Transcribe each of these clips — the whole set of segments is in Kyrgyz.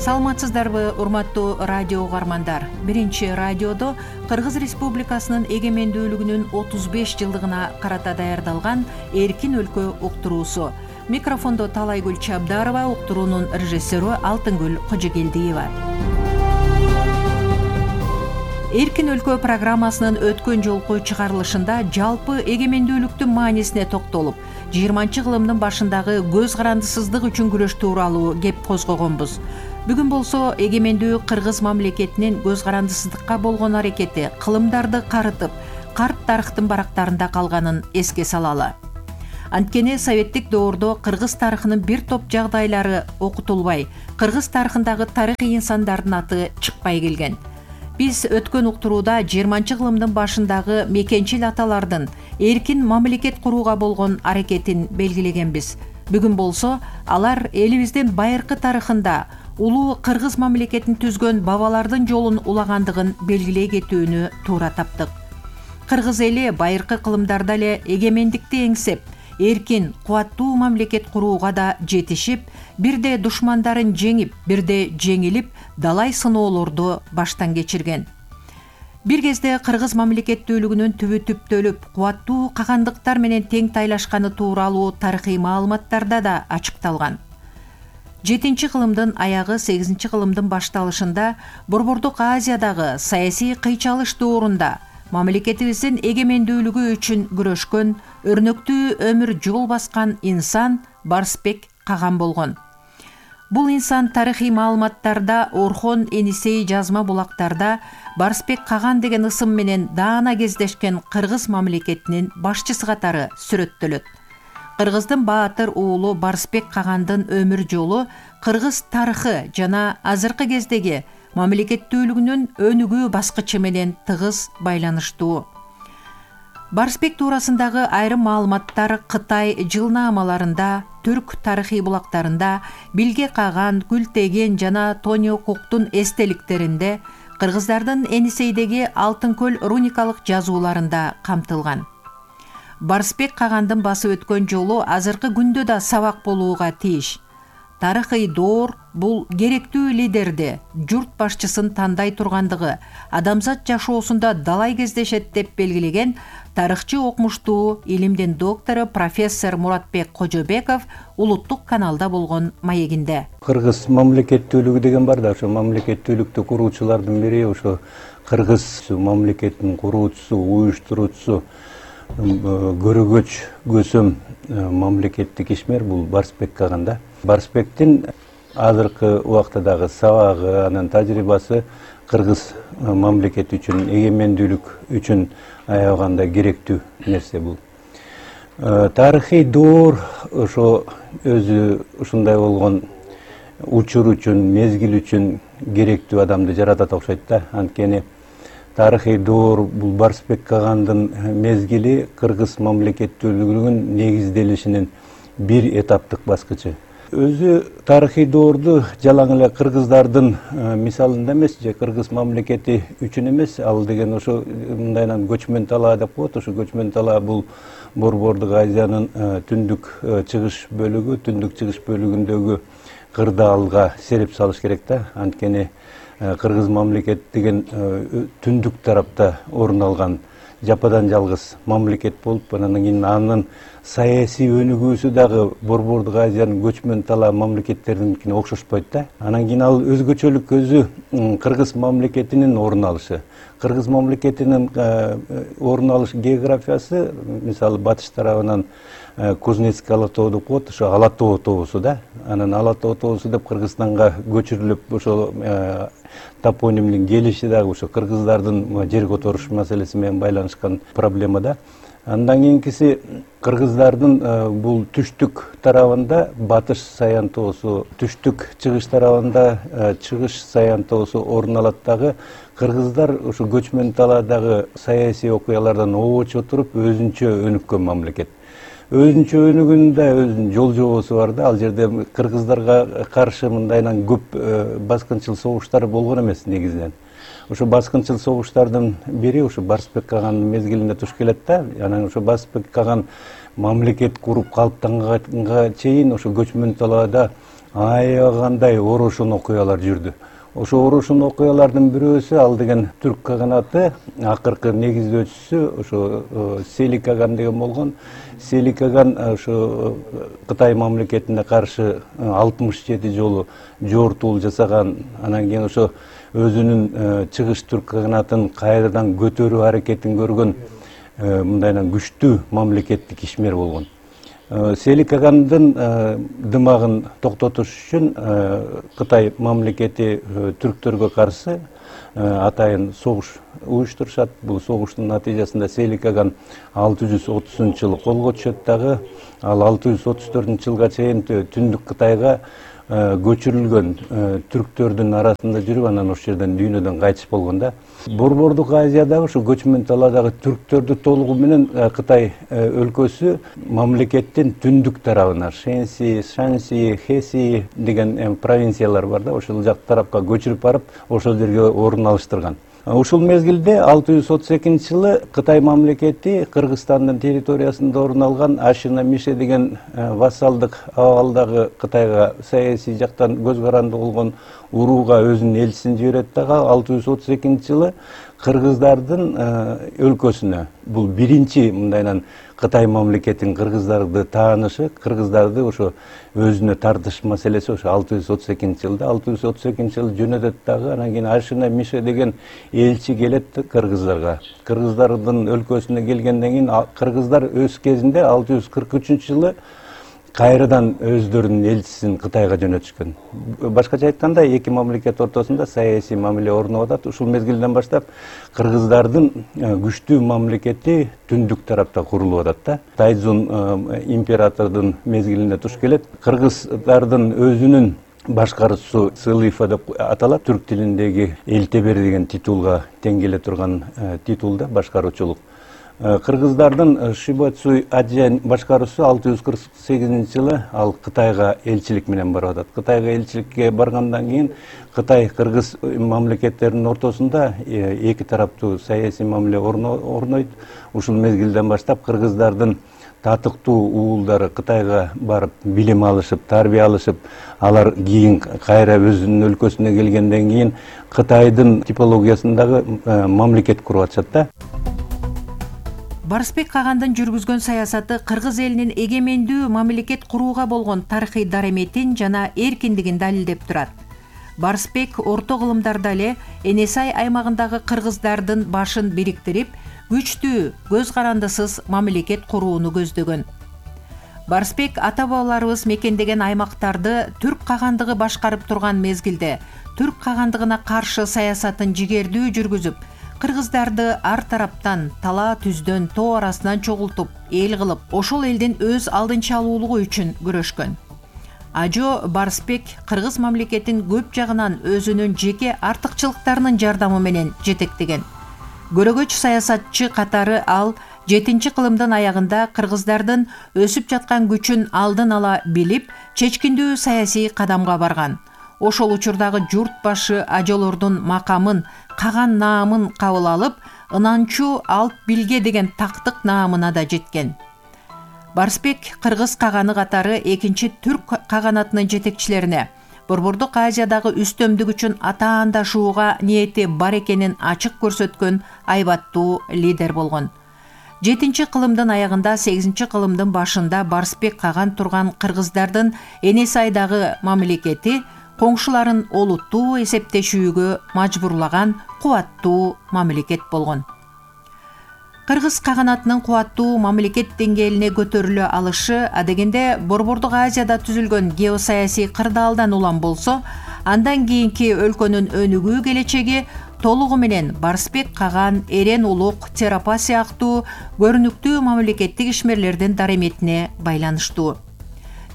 Саламатсыздарбы, урматтуу радио угармандар. Биринчи радиодо Кыргыз Республикасынын эгемендүүлүгүнүн 35 жылдыгына карата даярдалган Эркин өлкө уктуруусу. Микрофондо Талайгүл Чабдарова, уктуруунун режиссеру Алтынгүл Кожогелдиева. Эркин өлкө программасынын өткөн жолку чыгарылышында жалпы эгемендүүлүктүн маанисине токтолуп, 20-кылымдын башындагы көз карандысыздык үчүн күрөш тууралуу кеп козгогонбуз. Бүгүн болсо эгемендүү Кыргыз мамлекетинин көз карандысыздыкка болгон аракети кылымдарды карытып, карт тарыхтын барактарында калганын эске салалы. Анткени советтик доордо кыргыз тарыхынын бир топ жагдайлары окутулбай, кыргыз тарыхындагы тарыхый инсандардын аты чыкпай келген. Биз өткөн уктурууда 20-кылымдын башындагы мекенчил аталардын эркин мамлекет курууга болгон аракетин белгилегенбиз. Бүгүн болсо алар элибиздин байыркы тарыхында улуу кыргыз мамлекетин түзгөн бабалардын жолун улагандыгын белгилей кетүүнү туура таптык. Кыргыз эли байыркы кылымдарда эле эгемендикти эңсеп, эркин, кубаттуу мамлекет курууга да жетишип, бирде душмандарын жеңип, бирде жеңилип, далай сыноолорду баштан кечирген. Бир кезде кыргыз мамлекеттүүлүгүнүн түбү түптөлүп, кубаттуу кагандыктар менен тең тайлашканы тууралуу тарыхый маалыматтарда да ачыкталган. 7-кылымдын аягы 8-кылымдын башталышында Борбордук Азиядагы саясий кыйчалыш доорунда мамлекетибиздин эгемендүүлүгү үчүн күрөшкөн, өрнөктүү өмүр жол баскан инсан Барсбек Каган болгон. Бул инсан тарыхый маалыматтарда Орхон Энисей жазма булактарда Барсбек Каган деген ысым менен даана кездешкен кыргыз мамлекетинин башчысы катары сүрөттөлөт. Кыргыздын баатыр уулу Барсбек Кагандын өмүр жолу кыргыз тарыхы жана азыркы кездеги мамлекеттүүлүгүнүн өнүгүү баскычы менен тыгыз байланыштуу. Барсбек туурасындагы айрым маалыматтар Кытай жылнаамаларында, түрк тарыхый булактарында, Билге Каган, Күлтеген жана Тониокуктун эстеликтеринде, кыргыздардын Энисейдеги Алтын көл руникалык жазууларында камтылган. Барсбек Кагандын басып өткөн жолу азыркы күндө да сабак болууга тийиш. Тарыхый доор бул керектүү лидерди, журт башчысын тандай тургандыгы, адамзат жашоосунда далай кездешет деп белгилеген тарыхчы окумуштуу, илимдин доктору профессор Муратбек Кожобеков улуттук каналда болгон маегинде. Кыргыз мамлекеттүүлүгү деген бар да, ошо мамлекеттүүлүктү куруучулардын бири, ошо кыргыз мамлекетинин куруучусу, уюштуруучусу, көрөгөч көсөм мамлекеттик ишмер бул Барсбек Каган да. Барсбектин азыркы убактадагы сабагы, анын тажрыйбасы кыргыз мамлекети үчүн, эгемендүүлүк үчүн аябаганда керектүү нерсе бул. Тарыхый доор ошо өзү ушундай болгон учур үчүн, мезгил үчүн керектүү адамды жаратат окшойт да. Анткени тарыхый доор бул Барсбек Кагандын мезгили кыргыз мамлекеттүүлүгүнүн негизделишинин бир этаптык баскычы. Өзү тарыхый доорду жалаң эле кыргыздардын мисалында эмес, же кыргыз мамлекети үчүн эмес, ал деген ошо мындайынан көчмөн талаа деп коет. Ошо көчмөн талаа бул Борбордук Азиянын түндүк чыгыш бөлүгүндөгү кырдаалга сереп салыш керек да. Анткени кыргыз мамлекет деген түндүк тарапта орун алган жападан жалгыз мамлекет болуп, анан кийин анын саясий өнүгүүсү дагы Борбордук Азиянын көчмөн талаа мамлекеттериникине окшошпойт да. Анан кийин ал өзгөчөлүк өзү кыргыз мамлекетинин орун алышы. Кыргыз мамлекетинин орун алыш географиясы, мисалы батыш тарабынан Кузнецкий ала тоо деп коет, ошо Ала тоо тоосу да. Анан Ала тоо тоосу деп Кыргызстанга көчүрүлүп, ошо топонимдин келиши дагы ошо кыргыздардын жер которуш маселеси менен байланышкан проблема да. Андан кийинкиси кыргыздардын бул түштүк тарабында Батыш Саян тоосу, түштүк чыгыш тарабында Чыгыш Саян тоосу орун алат дагы. Кыргыздар ошо көчмөн талаадагы саясий окуялардан обоч отуруп өзүнчө өнүккөн мамлекет. Өзүнчө өнүгүүндө өзүнүн жол жобосу бар да. Ал жерде кыргыздарга каршы мындайынан көп баскынчыл согуштар болгон эмес негизинен. Ошо баскынчыл согуштардын бири ошо Барсбек Кагандын мезгилинде туш келет да. Анан ошо Барсбек Каган мамлекет куруп калыптанганга чейин ошо көчмөн талаада аябагандай орошон окуялар жүрдү. Ошо орошон окуялардын бирөөсү ал деген түрк каганаты акыркы негиздөөчүсү ошо Селик Аган деген болгон. Селик Аган ошо Кытай мамлекетине каршы 67 жолу жортуул жасаган, анан кийин ошо өзүнүн чыгыш түрк каганатын кайрадан көтөрүү аракетин көргөн мындайынан күчтүү мамлекеттик ишмер болгон. Селик Агандын дымагын токтотуш үчүн Кытай мамлекети түрктөргө каршы атайын согуш уюштурушат. Бул согуштун натыйжасында Селик Аган 630-жылы колго түшөт дагы. Ал 634-жылга чейин Түндүк Кытайга көчүрүлгөн түрктөрдүн арасында жүрүп, анан ошол жерден дүйнөдөн кайтыш болгон да. Борбордук Азиядагы ушу көчмөн талаадагы түрктөрдү толугу менен Кытай өлкөсү мамлекеттин түндүк тарабына Шэньси, Шанси, Хэси деген провинциялар бар да, ошол жак тарапка көчүрүп барып, ошол жерге орун алыштырган. Ушул мезгилде 632-жылы Кытай мамлекети Кыргызстандын территориясында орун алган Ашина Мише деген вассалдык абалдагы Кытайга саясий жактан көз каранды болгон урууга өзүнүн элчисин жиберет дагы 632-жылы кыргыздардын өлкөсүнө, бул биринчи мындайынан Кытай мамлекетинин кыргыздарды таанышы, кыргыздарды ошо өзүнө тартыш маселеси ошо 632-жылда. 632-жылы жөнөтөт дагы, анан кийин Ашина Мише деген элчи келет кыргыздарга. Кыргыздардын өлкөсүнө келгенден кийин кыргыздар өз кезинде 643-жылы кайрадан өздөрүнүн элчисин Кытайга жөнөтүшкөн. Башкача айтканда, эки мамлекет ортосунда саясий мамиле орноп атат. Ушул мезгилден баштап кыргыздардын күчтүү мамлекети түндүк тарапта курулуп атат да. Тайзун императордун мезгилине туш келет. Кыргыздардын өзүнүн башкаруусу Сылыйфа деп аталат. Түрк тилиндеги элтебер деген титулга тең келе турган титул да, башкаруучулук. Кыргыздардын Шибацуй Аджен башкаруусу 648-жылы ал Кытайга элчилик менен барып атат. Кытайга элчиликке баргандан кийин Кытай-Кыргыз мамлекеттеринин ортосунда эки тараптуу саясий мамиле орнойт. Ушул мезгилден баштап кыргыздардын татыктуу уулдары Кытайга барып билим алышып, тарбия алышып, алар кийин кайра өзүнүн өлкөсүнө келгенден кийин Кытайдын типологиясындагы мамлекет куруп атышат да. Барысбек Кагандын жүргүзгөн саясаты кыргыз элинин эгемендүү мамлекет курууга болгон тарыхый дараметин жана эркиндигин далилдеп турат. Барысбек орто кылымдарда эле Энесай аймагындагы кыргыздардын башын бириктирип, күчтүү, көз карандысыз мамлекет курууну көздөгөн. Барысбек ата-бабаларыбыз мекендеген аймактарды түрк кагандыгы башкарып турган мезгилде түрк кагандыгына каршы саясатын жигердүү жүргүзүп, кыргыздарды ар тараптан талаа түздөн тоо арасынан чогултуп, эл кылып, ошол элдин өз алдынча алуулугу үчүн күрөшкөн. Ажо Барысбек кыргыз мамлекетин көп жагынан өзүнүн жеке артыкчылыктарынын жардамы менен жетектеген. Көрөгөч саясатчы катары ал 7-кылымдын аягында кыргыздардын өсүп жаткан күчүн алдын ала билип, чечкиндүү саясий кадамга барган. Ошол учурдагы журт башы ажолордун макамын, каган наамын кабыл алып, ынанчу алп билге деген тактык наамына да жеткен. Барысбек кыргыз каганы катары экинчи түрк каганатынын жетекчилерине Борбордук Азиядагы үстөмдүк үчүн атаандашууга ниети бар экенин ачык көрсөткөн айбаттуу лидер болгон. 7-кылымдын аягында 8-кылымдын башында Барысбек Каган турган кыргыздардын Энесайдагы мамлекети коңшуларын олуттуу эсептешүүгө мажбурлаган кубаттуу мамлекет болгон. Кыргыз каганатынын кубаттуу мамлекет деңгээлине көтөрүлө алышы адегенде Борбордук Азияда түзүлгөн геосаясий кырдаалдан улам болсо, андан кийинки өлкөнүн өнүгүү келечеги толугу менен Барысбек Каган, Эрен Улук, Терапа сыяктуу көрүнүктүү мамлекеттик ишмерлердин дараметине байланыштуу.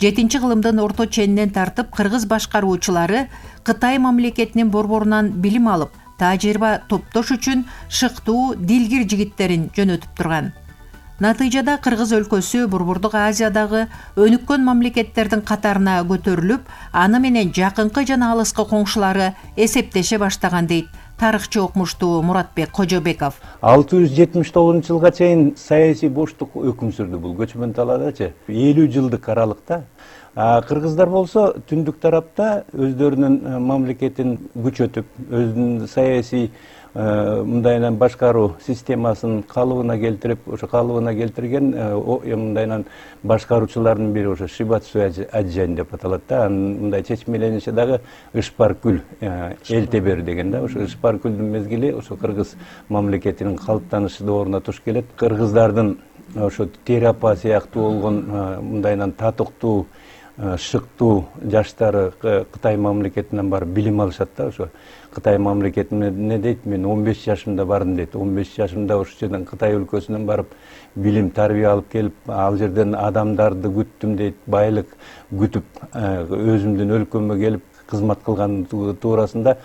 7-кылымдын орто ченинен тартып кыргыз башкаруучулары Кытай мамлекетинин борборунан билим алып, тажрыйба топтош үчүн шыктуу дилгир жигиттерин жөнөтүп турган. Натыйжада кыргыз өлкөсү Борбордук Азиядагы өнүккөн мамлекеттердин катарына көтөрүлүп, аны менен жакынкы жана алыскы коңшулары эсептеше баштаган дейт тарыхчы окумуштуу Муратбек Кожобеков. 679-жылга чейин саясий боштук өкүм сүрдү бул көчмөн талаадачы. 50 жылдык аралыкта Кыргыздар болсо түндүк тарапта өздөрүнүн мамлекетин күчөтүп, өзүнүн саясий мындайынан башкаруу системасын калыбына келтирип, ошо калыбына келтирген мындайынан башкаруучулардын бири ошо Шибацу Аджань деп аталат да. Анын мындай чечмелениши дагы Ышпаркүл Элтебер деген да. Ошо Ышпаркүлдүн мезгили ошо кыргыз мамлекетинин калыптанышы дооруна туш келет. Кыргыздардын ошо Тери апа сыяктуу болгон мындайынан татыктуу, шыктуу жаштары Кытай мамлекетинен барып билим алышат да. Ошо Кытай мамлекетине эмне дейт, мен 15 жашымда бардым дейт. 15 жашымда ошол жерден Кытай өлкөсүнөн барып билим, тарбия алып келип, ал жерден адамдарды күттүм дейт, байлык күтүп, өзүмдүн өлкөмө келип кызмат кылган туурасында